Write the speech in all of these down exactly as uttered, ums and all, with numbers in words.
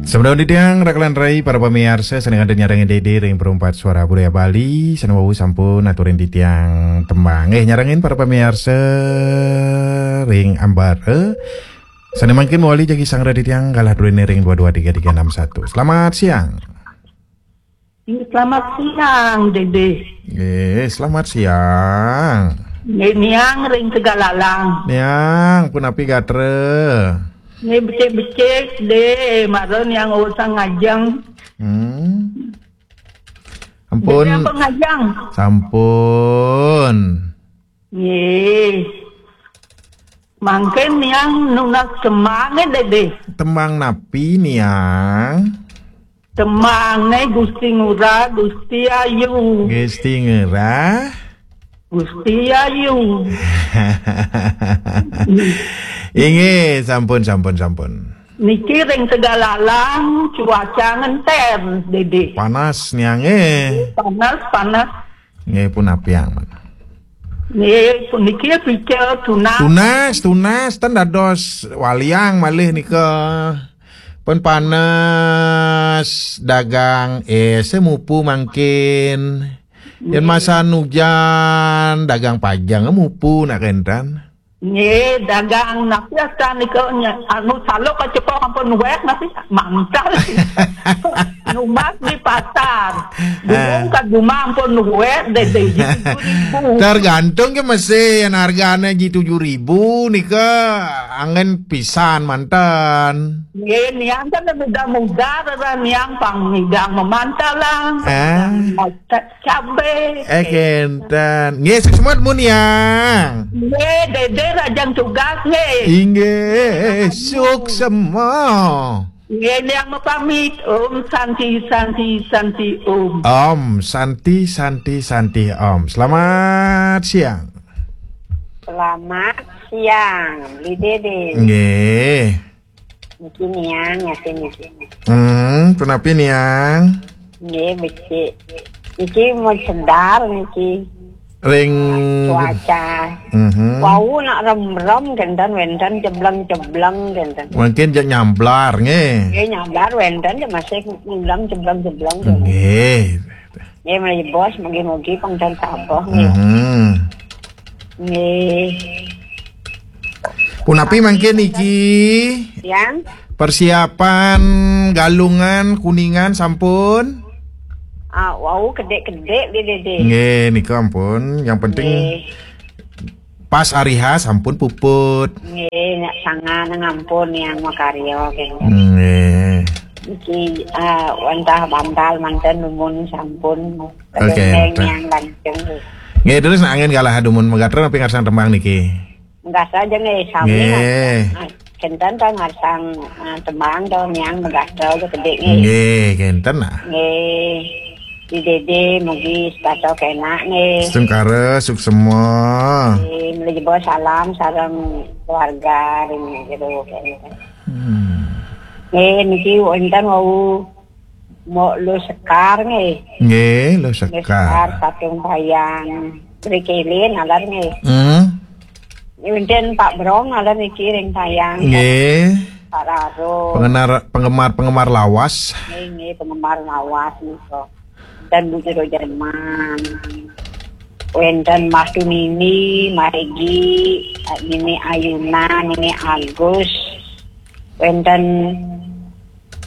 Sampun titiang raka lan rai para pamiarsa sané kantun nyarengin Dédé ring Perumpat Suara Budaya Bali, sané wau sampun aturin titiang tembang. Eh, nyarengin para pamiarsa ring ambara. Sané mangkin mawali jagi sanggra titiang galah druéné ring dua dua tiga tiga enam satu. Selamat siang. Selamat siang, Dédé. Eh, selamat siang. Nggih, Niang ring Tegalalang. Niang, punapi gatra? Nggih, becik-becik, Dé, mara Niang usang ngajeng. Hmm. Ampun. Dédé ampun ngajeng? Sampun. Nggih. Mangkin Niang nunas tembangé, Dédé. Tembang napi, Niang? Tembangé Gusti Ngurah, Gusti Ayu. Gusti Ngurah. Gusti Ayu. Inggih, sampun, sampun, sampun. Niki ring Tegalalang cuaca ngenter, Dédé. Panas, Niang, eh. Panas, panas. Nggih, punapi, Niang? Nggih, puniki pica tunas. Tunas, tunas, ten dados waliang malih nika. Pun panas, dagang, eh, semupu mangkin. Yén masan ujan, dagang pajang mupu nak kénten. Nggih, dagang napi astan nika nya, anu, saluk kacepok ampun nuwek napi mantal. Numbas di pasar. Durung ka jumah ampun nuwek, Dédé, ji tujuh ribu. Tergantung ke mesti, yén hargané ji tujuh ribu nika anggén pisan manten. Nggih, Niang kan muda-muda, rara Niang pang ngidang mamantalan. Ah. Masak cabe. Eh, kénten. Nggih, suksma, Niang. Nggih, Dédé rajang tugas, nggih. Inggih, suksma. Nggih, Niang mapamit. Om Santi, Santi, Santi, Om. Om Santi, Santi, Santi, Om. Selamat siang. Selamat siang, Bli Dédé. Nggih. Niki Niang, nyatin niki. Hmm, punapi, Niang? Nggih, becik. Niki mau sedar niki. Ring cuaca. Mhm. Wau nak remrem kénten, wénten cebleng-cebleng kénten. Mungkin jak nyamblar, nggih. Nggih, nyamblar wénten, ya masih ngulang cebleng-cebleng kénten. Nggih. Nggih, mriki bos, mugi-mugi pang ten sampun, nggih. Mhm. Nggih. Punapi mangkin niki? Yang? Persiapan Galungan, Kuningan sampun? Ah, wau kedék-kedék, Dédé. Nggih, nika ampun. Yang penting nggih. Pas ari H sampun puput. Nggih, nyak sangan ngampun yang makarya, nggih. Nggih. Niki, ah, wantah bantal manten dumun sampun. Oke, yang lanceng. Nggih, terus nak anggén galah dumun magatra napi ngarsang tembang niki? Magatra aja nggih, sami. Nggih. Nah, kénten ta ngarsang, ah, tembang to, Niang magatra aja kedék nggih. Nggih, kénten nah. Nggih. Di Dédé mugi setata kénak nggih. Setungkara, suksma. Nggih, mlejebos salam sareng keluarga ring jero kéné. Hmm. Nggih, niki wénten wau Mbok Luh Sekar nggih. Nggih, Luh Sekar. Luh Sekar, Patung Bayang. Mrikilin nalar nggih. Hmm. Wénten Pak Brong nalar niki ring Bayang. Nggih. Pak Raro. Penggemar, penggemar, penggemar lawas. Nggih, nggih, penggemar lawas nika. Dan Bu Jero Jerman. Wénten Mas Tunini, Mas Regi, Nini Ayuna, Nini Agus. Wénten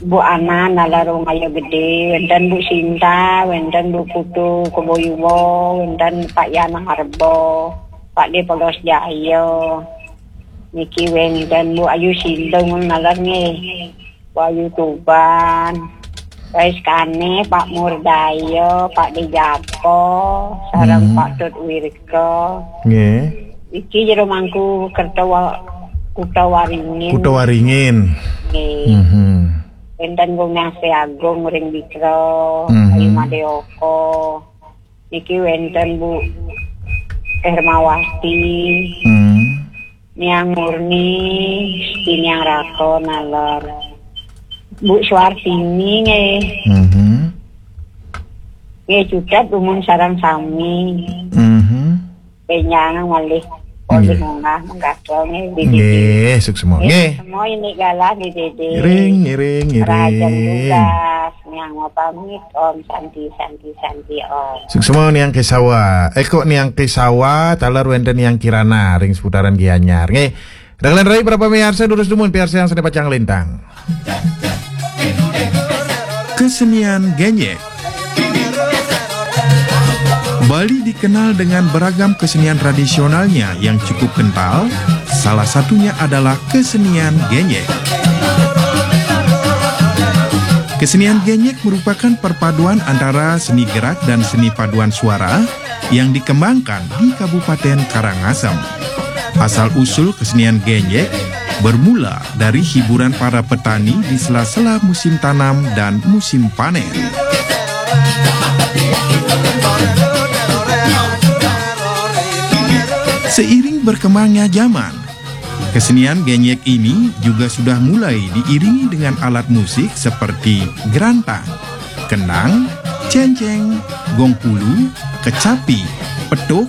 Bu Ana nalar ring Ayu Gedé, wénten Bu Sinta, wénten Bu Putu Keboyuwa, wénten Pak Yan Harbo, Pak Dé Polos Jaya. Niki wénten Bu Ayu Sindung nalar nggih. Bu Ayu Tuban, Rais Kane, Pak Murdaya, Pak Dé Japo, sareng hmm. Pak Tut Wirka. Nggih. Iki jero mangku Kerta Wa-, Kuta Waringin. Kuta Waringin. Nggih. Mhm. Wénten Gung Nyase Agung ring Bikra, mhm. Ayu Madeoko. Niki wénten Bu Hermawati. Hmm. Niang Murni, Siti Niang Raka nalar. Bu Suartini nggih. Mhm. Nggih, cutet dumun sareng sami. Mhm. Bénjang malih Polih munggah menggaga nggih, Dede. Nggih, suksma. Nggih, nggih. Semua ini galah, Dede. Ngiring, ngiring, ngiring. Rahajeng tugas, nyang pamit, Om Santi, Santi, Santi, Om. Suksma Niang Kesawa. Eh, kok Niang Kesawa, taler wénten Niang Kirana ring seputaran Gianyar. Nggih. Dagelan rai para pamiarsa, durus dumun piarsayang sané pacang lintang. Kesenian Genyek. Bali dikenal dengan beragam kesenian tradisionalnya yang cukup kental, salah satunya adalah kesenian Genyek. Kesenian Genyek merupakan perpaduan antara seni gerak dan seni paduan suara yang dikembangkan di Kabupaten Karangasem. Asal-usul kesenian Genyek bermula dari hiburan para petani di sela-sela musim tanam dan musim panen. Seiring berkembangnya zaman, kesenian Genyek ini juga sudah mulai diiringi dengan alat musik seperti gerantang, kendang, céncéng, gong pulu, kecapi, petuk,